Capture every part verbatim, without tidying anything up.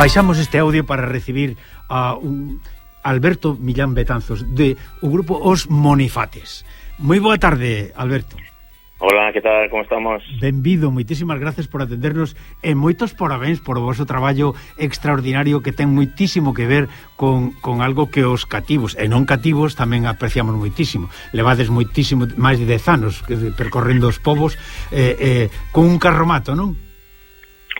Baixamos este audio para recibir a un Alberto Millán Betanzos de o grupo Os Monifates. Moi boa tarde, Alberto. Hola, que tal? Como estamos? Benvido, moitísimas gracias por atendernos e moitos parabéns por o vosso traballo extraordinario que ten moitísimo que ver con, con algo que os cativos e non cativos tamén apreciamos moitísimo. Levades moitísimo, máis de dez anos percorrendo os povos eh, eh, con un carromato, non?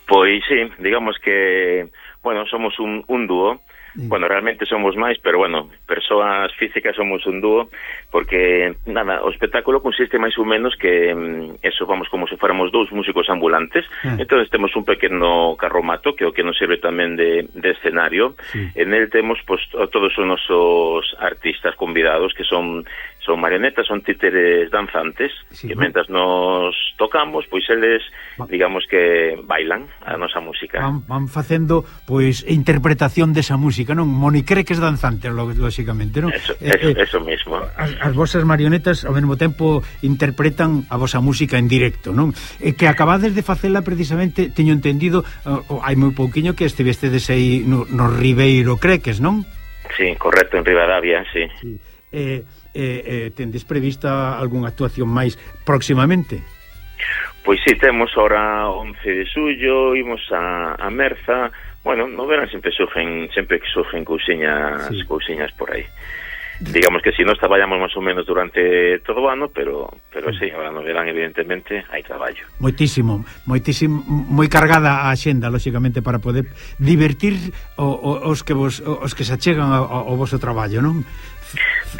Pois sí, digamos que, bueno, somos un, un dúo. Sí. Bueno, realmente somos máis, pero bueno, persoas físicas somos un dúo, porque, nada, o espectáculo consiste máis ou menos que, eso, vamos, como se fóramos dous músicos ambulantes, ah. Entón temos un pequeno carromato, que é o que nos serve tamén de, de escenario, sí. En el temos, pues, todos os nosos artistas convidados, que son son marionetas, son títeres danzantes, sí, que mentras nos tocamos, pois eles, digamos que bailan a nosa música. Van, van facendo, pois, interpretación desa música, non? Monicreques danzantes, lógicamente, non? Eso, eh, eso, eh, eso mismo. As, as vosas marionetas, ao mesmo tempo, interpretan a vosa música en directo, non? E que acabades de facela, precisamente, teño entendido, uh, hai moi pouquiño que estivestedes aí no, no Ribeiro Creques, non? Sí, correcto, en Ribadavia, sí. Sí. Eh... Eh, eh, tendes prevista algunha actuación máis próximamente? Pois sí, temos ahora once de xullo, imos a, a Merza. Bueno, no verán sempre surgen, sempre que surgen cousiñas, sí. cousiñas por aí. Digamos que si nos traballamos máis ou menos durante todo o ano, pero pero sí, ahora no verán, evidentemente, hai traballo. Moitísimo, moitísimo, moi cargada a axenda, lógicamente, para poder divertir o, o, os que vos os que se achegan ao, ao voso traballo, non?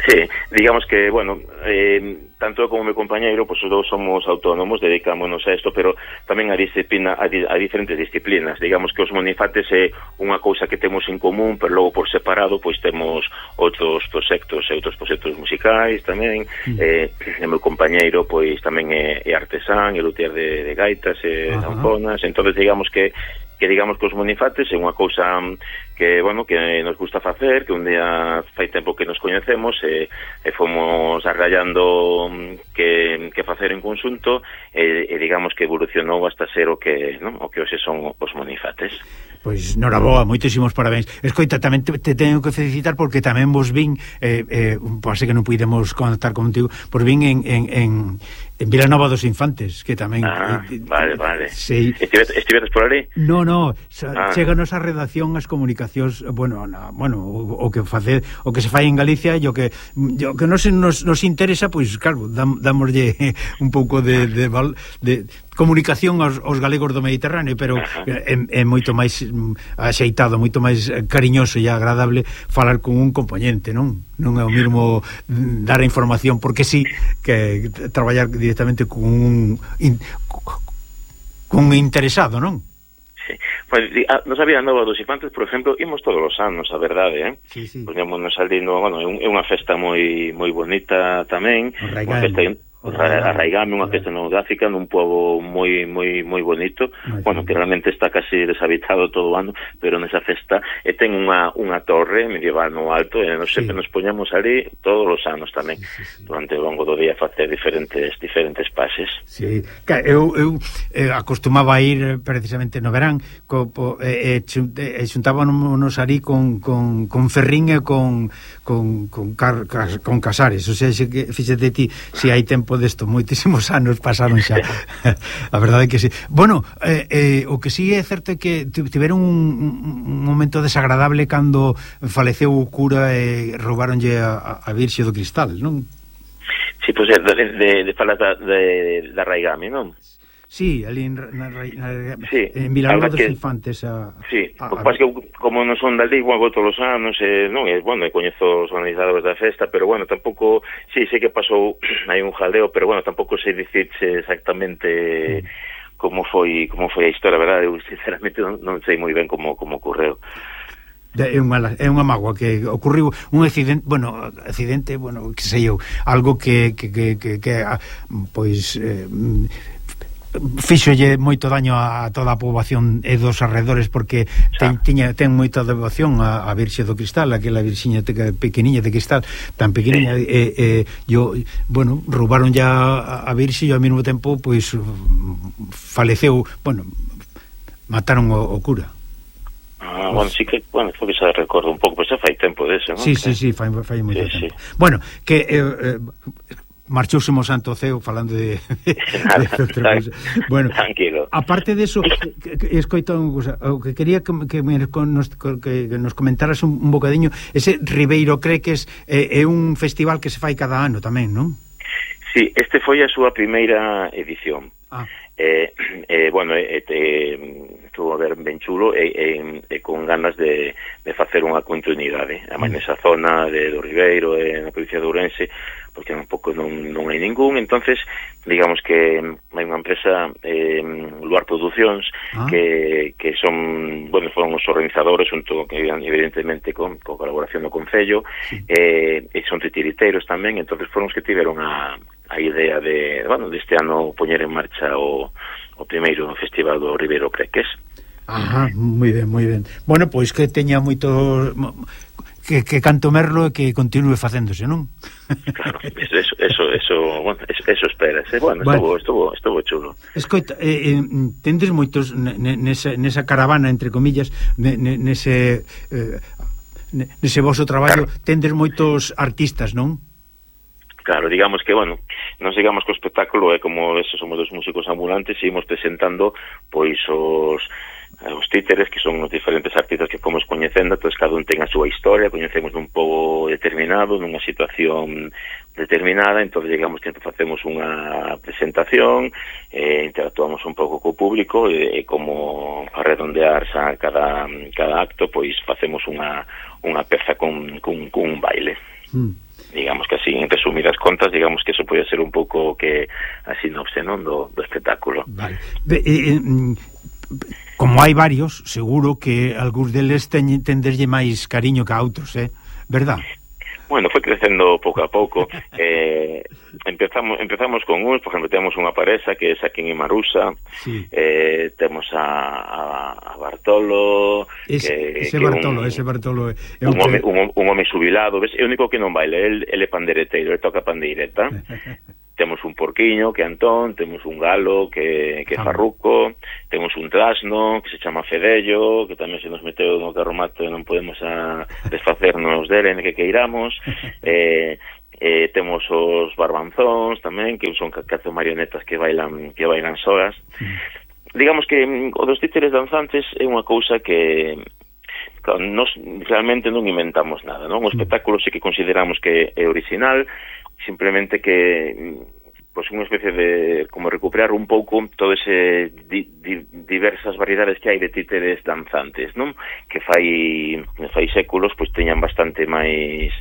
Sí, digamos que, bueno, eh, tanto como meu compañeiro, pois pues, os dous somos autónomos, dedicámonos a isto, pero tamén a disciplina, a, di, a diferentes disciplinas. Digamos que os Monifates é unha cousa que temos en común, pero logo por separado, pois temos outros proxectos, e outros proxectos musicais tamén. Mm. Eh, o meu compañeiro, pois tamén é, é artesán, é luthier de, de gaitas e zanfonas, entonces digamos que que digamos que os Monifates é unha cousa que, bueno, que nos gusta facer, que un día fai tempo que nos coñecemos e, e fomos arrallando que, que facer en conxunto e, e digamos que evolucionou hasta ser o que, non? O que hoxe son os Monifates. Pois, noraboa, moitísimos parabéns. Escoita, tamén te, te teño que felicitar porque tamén vos vin, eh, eh, pase que non pudemos contactar contigo, vos vin en, en, en, en Vilanova dos Infantes, que tamén... Ah, eh, vale, vale. Sí. Estivetes, estivetes por ali? No, no, ah. Cheganos a redacción as comunicacións, bueno, na, bueno o, o que face, o que se fai en Galicia e o que o que nos, nos, nos interesa, pois, claro, dam, damoslle un pouco de, de, de comunicación aos, aos galegos do Mediterráneo, pero é, é moito máis axeitado, moito máis cariñoso e agradable falar con un componente, non? Non é o mesmo dar a información porque sí, que traballar directamente con un in, con un interesado, non? Sí. Pues, nos había Nova dos Infantes, por exemplo, imos todos os anos, a verdade, eh? Sí, sí. Poñémonos ali no, bueno, é unha festa moi moi bonita tamén, unha festa Arraigame, unha festa etnográfica nun pobo moi moi moi bonito, Ay, bueno, que realmente está casi deshabitado todo o ano, pero nesa festa e ten unha unha torre medieval no alto e nos sí. sempre nos poñamos ali todos os anos tamén, sí, sí, sí. durante o longo do día facer diferentes diferentes pases. Sí, eu, eu eh, acostumaba a ir precisamente no verán, co, po, eh, eh, xuntábamos ali con, con, con Ferrín e con con, con, car, cas, con Casares, o sea, se, fíxate ti, se hai tempo desto, moitísimos anos pasaron xa. A verdade é que sí. Bueno, eh, eh, o que sí é certo é que tiveron un, un momento desagradable cando faleceu o cura e roubaronlle a, a Virxe do Cristal, non? Sí, pois pues, de, de, de falar da, de, da Arraigame, non? Sí, ali en, na, na, sí, en Vilanova dos Infantes a, sí, a, a, a... que como non son dali, igual todos os anos eh, non, é, bueno, coñezo os organizadores da festa, pero bueno, tampouco sí, sei que pasou hai un jaleo, pero bueno, tampouco sei dicirse exactamente mm. como foi como foi a historia, verdade, eu sinceramente non, non sei moi ben como, como ocorreu. É unha, é unha mágoa que ocurriu un accidente, bueno, accidente, bueno, que sei eu, algo que que, que, que, que pois eh, fíxolle moito daño a toda a poboación e dos arredores porque ten, tiña, ten moita devoción a, a Virxe do Cristal, aquela virxiña pequeniña de cristal, tan pequeniña sí. e, e yo, bueno, roubaron ya a Virxe e ao mesmo tempo pois faleceu, bueno, mataron o, o cura. Ah, bueno, sí que, bueno, foi que xa recordo un pouco, pois xa fai tempo dese, non? Sí, que... sí, sí, fai, fai moito sí, tempo. Sí. Bueno, que... Eh, eh, marchouse mo Santo Ceo falando de, de, de outra cousa. Bueno, tranquilo. Aparte de eso, escoito unha cousa, o que quería que, que, nos, que nos comentaras un, un bocadiño, ese Ribeiro Creques é, é un festival que se fai cada ano tamén, non? Sí, este foi a súa primeira edición. Ah. Eh, eh, bueno, eh, eh, estuvo a ver ben chulo e, eh, eh, con ganas de, de facer unha continuidade a máis nesa zona de do Ribeiro e na provincia de Ourense, porque un pouco non, non hai ningún. Entonces digamos que hai unha empresa, eh, Luar Producións, ah. que, que son, bueno, foron os organizadores junto, que evidentemente con, con colaboración do Concello, sí. eh, e son titiriteiros tamén. Entonces foron os que tiveron a a idea de, bueno, deste ano poñer en marcha o, o primeiro festival do Ribeiro Creques. Ajá, moi ben, moi ben. Bueno, pois que teña moito que, que canto merlo e que continue facéndose, non? Claro, eso, eso, eso, eso, bueno, eso, eso esperas, eh? Bueno, estuvo, estuvo, estuvo chulo. Escoita, eh, eh, tendes moitos nesa, nesa caravana, entre comillas, nese eh, nese voso traballo, tendes moitos artistas, non? Claro, digamos que, bueno, non digamos que o espectáculo é como esos, somos dos músicos ambulantes e imos presentando pois os os títeres, que son os diferentes artistas que fomos coñecendo. Entón cada un ten a súa historia, coñecemos un pouco determinado, nunha situación determinada. Entón digamos que facemos unha presentación, eh, interactuamos un pouco co público e, e como a redondear xa cada, cada acto, pois facemos unha, unha peza con, con, con un baile. Mm. Digamos que así, en resumidas contas, digamos que eso pode ser un pouco que a sinopse, non, do, do espectáculo. Vale. Be, eh, como hai varios, seguro que algúns deles teñen tenderlle máis cariño que a outros, eh? Verdad? Bueno, foi crecendo pouco a pouco. eh, empezamos empezamos con uns, por exemplo, temos unha parexa que é Saquín e Marusa, sí. eh, temos a, a, a Bartolo, es, que, ese, que Bartolo un, ese Bartolo é un, home, un, un home xubilado, ves? É o único que non baila, el, el é pandereteiro, ele toca pandeireta. Temos un porquiño que é Antón, temos un galo que, que é Farruco, temos un trasno que se chama Fedello, que tamén se nos meteu no carromato e non podemos a desfacernos dele en que queiramos. eh, eh, temos os barbanzóns tamén, que son catro marionetas que bailan que bailan solas. Digamos que o dos títeres danzantes é unha cousa que claro, nos realmente non inventamos nada, non? O espectáculo sí que consideramos que é original, simplemente que pues unha especie de como recuperar un pouco todo ese di, di, diversas variedades que hai de títeres danzantes, non? Que fai fai séculos pois teñan bastante máis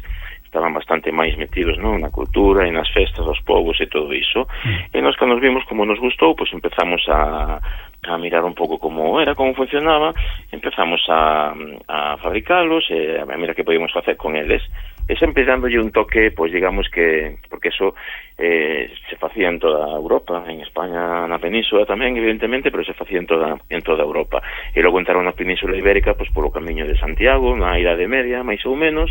estaban bastante máis metidos, non, na cultura e nas festas dos povos e todo iso. Mm. E nós que nos vimos como nos gustou, pois empezamos a a mirar un pouco como era, como funcionaba, empezamos a, a fabricalos e a mirar que podíamos facer con eles. E sempre dándolle un toque, pois digamos que, porque eso eh, se facía en toda Europa, en España, na Península tamén, evidentemente, pero se facía en toda, en toda Europa. E logo entraron na Península Ibérica, pois polo camiño de Santiago, na Idade Media, máis ou menos,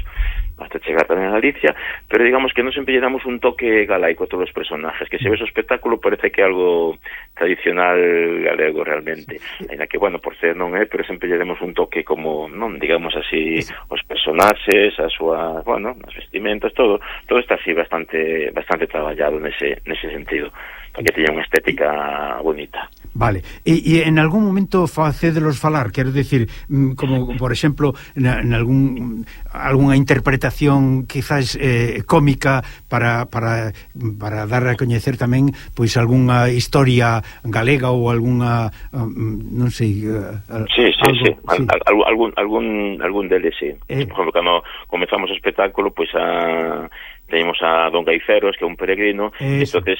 hasta chegar tamén a Galicia, pero digamos que non sempre lle damos un toque galaico a todos os personajes, que se ves o espectáculo parece que é algo tradicional galego realmente, ainda que, bueno, por ser non é, pero sempre lle demos un toque como, non, digamos así, os personaxes, a súa, bueno, as vestimentas, todo, todo está así bastante bastante traballado nese, nese sentido, para que teña unha estética bonita. Vale, e, e en algún momento facédelos falar, quero dicir, como, por exemplo, na, en algún algunha interpretación quizás eh, cómica para, para, para dar a coñecer tamén pois algunha historia galega ou algunha, non sei, uh, sí, sí, algo, sí, sí. Al, al, algún, algún, algún deles, sí. Eh. Por exemplo, cando comezamos o espectáculo, pois a teníamos a Don Gaiceros, que é un peregrino, entonces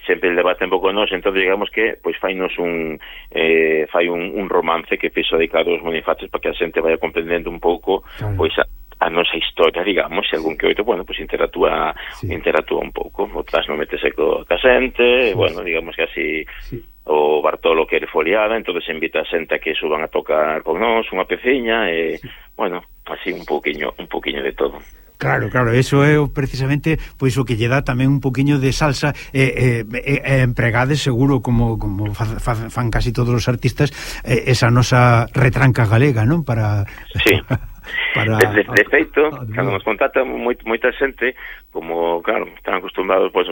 sempre el debate un pouco nos, entón digamos que pois fainos un eh, fai un, un romance que fixo dedicado aos Bonifaces para que a xente vaya comprendendo un pouco, claro, pois a, a nosa historia, digamos, se algún que oito, bueno, pois interactúa, sí, interactúa un pouco, o tras non metese co, ca xente, sí, bueno, digamos que así, sí, o Bartolo que é foliada, entonces invita a xente a que suban a tocar con nós unha peciña e, sí, bueno, así un pouquiño, un pouquiño de todo. Claro, claro, eso é precisamente pois o que lle dá tamén un poquiño de salsa e eh, eh, eh, empregades seguro como como fa, fa, fan casi todos os artistas eh, esa nosa retranca galega, non? Para sí. para de, de, de feito, cando nos contacta moita, moita xente, como, claro, están acostumbrados, pues,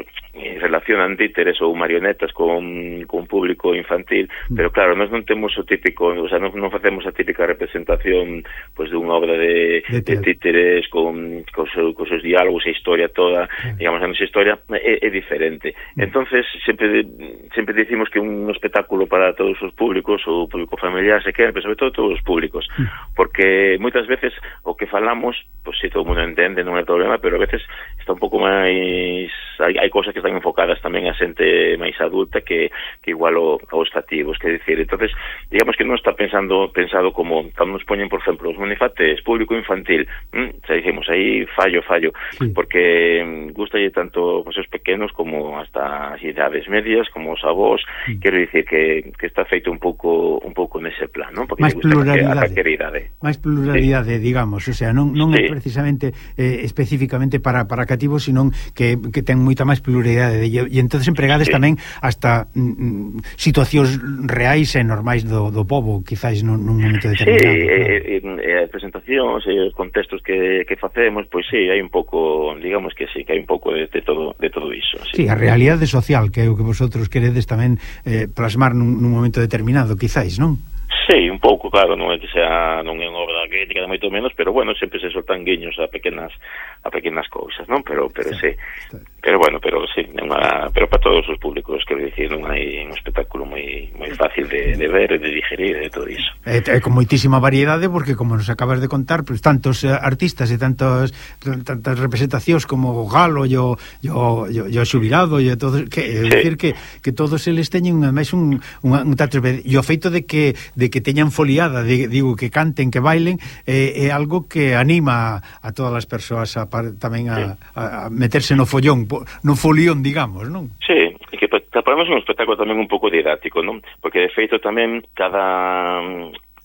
relacionan títeres ou marionetas con, con público infantil, mm. pero claro, nós non temos o típico, o sea, non, non facemos a típica representación, pues, de unha obra de, de, de títeres con, con, seu, con seus diálogos e historia toda, mm. digamos, a nosa historia é, é diferente. Mm. Entonces, sempre sempre dicimos que un espectáculo para todos os públicos, o público familiar, se quere, pero sobre todo todos os públicos, mm. porque moitas veces o que falamos, pois si todo o mundo entende, non é problema, pero a veces está un pouco máis, hai, hai cosas que están enfocadas tamén a xente máis adulta que, que igual o, aos cativos, que dicir, entonces, digamos que non está pensando pensado como, cando nos poñen, por exemplo, os monifates, público infantil, hm, xa dicimos, aí fallo, fallo, sí. porque hm, gustalle tanto pues, os pequenos como hasta as idades medias, como os avós, sí. quero dicir que, que está feito un pouco un pouco nese plan, non? Porque máis pluralidade, máis pluralidade, sí. digamos, o sea, non, non sí. é precisamente eh, especificamente para, para cativos, sino que, que ten moita máis pluralidade e, e entonces empregades sí. tamén hasta mm, situacións reais e normais do, do povo, quizás nun, nun momento determinado. Sí, e, e, e as presentacións e os contextos que, que facemos, pois sí, hai un pouco, digamos que sí, que hai un pouco de, de todo de todo iso. Sí, sí, a realidade social que é o que vosotros queredes tamén eh, plasmar nun, nun momento determinado, quizás, non? Sí, un pouco, claro, non é que sea non é unha obra crítica de moito menos, pero bueno, sempre se soltan guiños a pequenas a pequenas cousas, non? Pero pero sí. sí. Pero bueno, pero sí, unha, pero para todos os públicos, quero dicir, non hai un espectáculo moi moi fácil de, de ver, de digerir, de todo iso. É, é con moitísima variedade, porque como nos acabas de contar, pues, tantos uh, artistas e tantos tantas representacións como o Galo, e o o o xubilado e todo, que é sí. dicir que que todos eles teñen máis un un, un tato, e o feito de que de que teñan foliada, de, digo, que canten, que bailen, eh, é algo que anima a todas as persoas a, tamén a, a, a meterse no follón, no folión, digamos, non? Sí, e que preparamos un espectáculo tamén un pouco didáctico, non? Porque de feito tamén cada,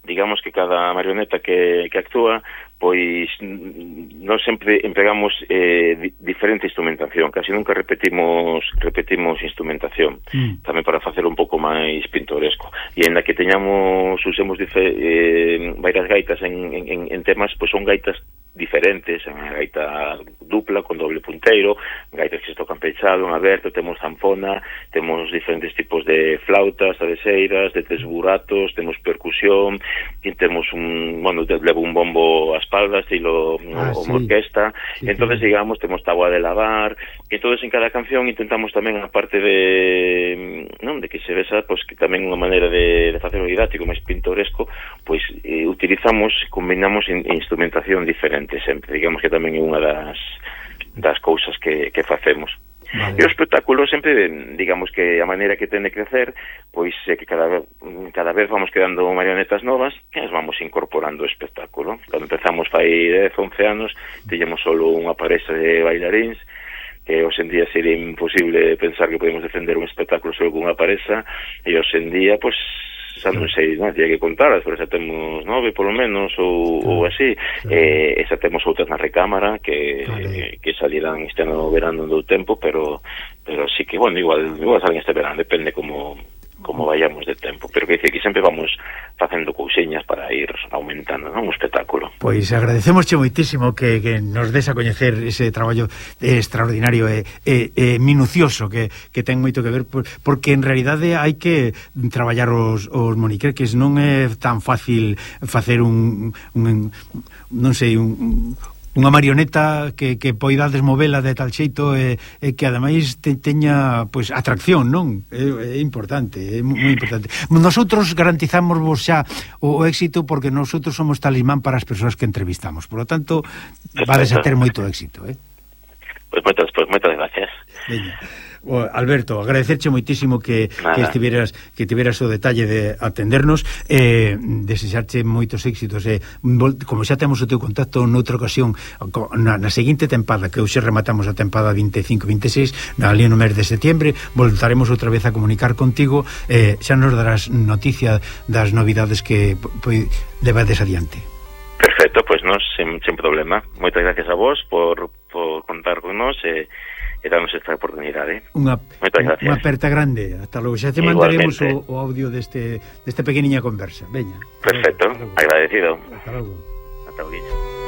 digamos que cada marioneta que, que actúa, pois nós sempre empregamos eh, di, diferente instrumentación, casi nunca repetimos repetimos instrumentación, mm. tamén para facer un pouco máis pintoresco, e ainda que teñamos, usemos dife, eh, varias gaitas en, en, en temas, pois son gaitas diferentes, unha gaita dupla con doble punteiro, gaitas que se tocan pechado, en aberto, temos zanfona, temos diferentes tipos de flautas, adeseiras, de tres buratos, temos percusión, e temos un, bueno, levo un bombo a espalda, estilo ah, o, sí. orquesta, sí, entonces sí. digamos, temos tabua de lavar, e entonces en cada canción intentamos tamén, a parte de non, de que se vesa, pois que tamén unha maneira de, de facer o didáctico máis pintoresco, pois eh, utilizamos, combinamos in, instrumentación diferente sempre, digamos que tamén é unha das das cousas que, que facemos. Vale. E o espectáculo sempre, digamos que a maneira que ten de crecer, pois é que cada vez, cada vez vamos quedando marionetas novas e as vamos incorporando ao espectáculo. Cando empezamos fai dez, once anos, teñemos solo unha parexa de bailaríns, que hoxe en día sería imposible pensar que podemos defender un espectáculo solo con unha parexa, e hoxe en día, pois, xa non sei, non, tiña que contar, pero xa temos nove polo menos ou, claro, ou así, claro. eh, e xa temos outras na recámara que, claro. eh, que salirán este ano verano do tempo, pero pero sí que, bueno, igual, igual salen este verano, depende como como vayamos de tempo, pero que dice que sempre vamos facendo cousiñas para ir aumentando, non, o espectáculo. Pois agradecemosche moitísimo que, que nos des a coñecer ese traballo extraordinario e, e, e minucioso que, que ten moito que ver, porque en realidade hai que traballar os, os moniqueques, non é tan fácil facer un, un non sei, un unha marioneta que, que poidades movela de tal xeito e, e que ademais te, teña pois atracción, non? É, é importante, é moi importante. Nosotros garantizamos vos xa o, o éxito porque nosotros somos talismán para as persoas que entrevistamos. Por lo tanto, vades a ter moito éxito, eh? Pois moitas, pois moitas gracias. Veña. Oh, Alberto, agradecerche moitísimo que, que estiveras que tiveras o detalle de atendernos, eh, desexarche moitos éxitos, eh, como xa temos o teu contacto noutra ocasión na, na seguinte tempada, que hoxe rematamos a tempada veinticinco veintiséis, na ali no mes de setiembre voltaremos outra vez a comunicar contigo, eh, xa nos darás noticia das novidades que pois levades adiante. Perfecto, pois pues nos sen, sen problema. Moitas gracias a vos por, por contar con nos e, e darnos esta oportunidade. Unha, unha aperta grande. Hasta logo. Xa te mandaremos o, o audio deste, deste pequeniña conversa. Veña. Perfecto, agradecido. Hasta logo. Hasta logo.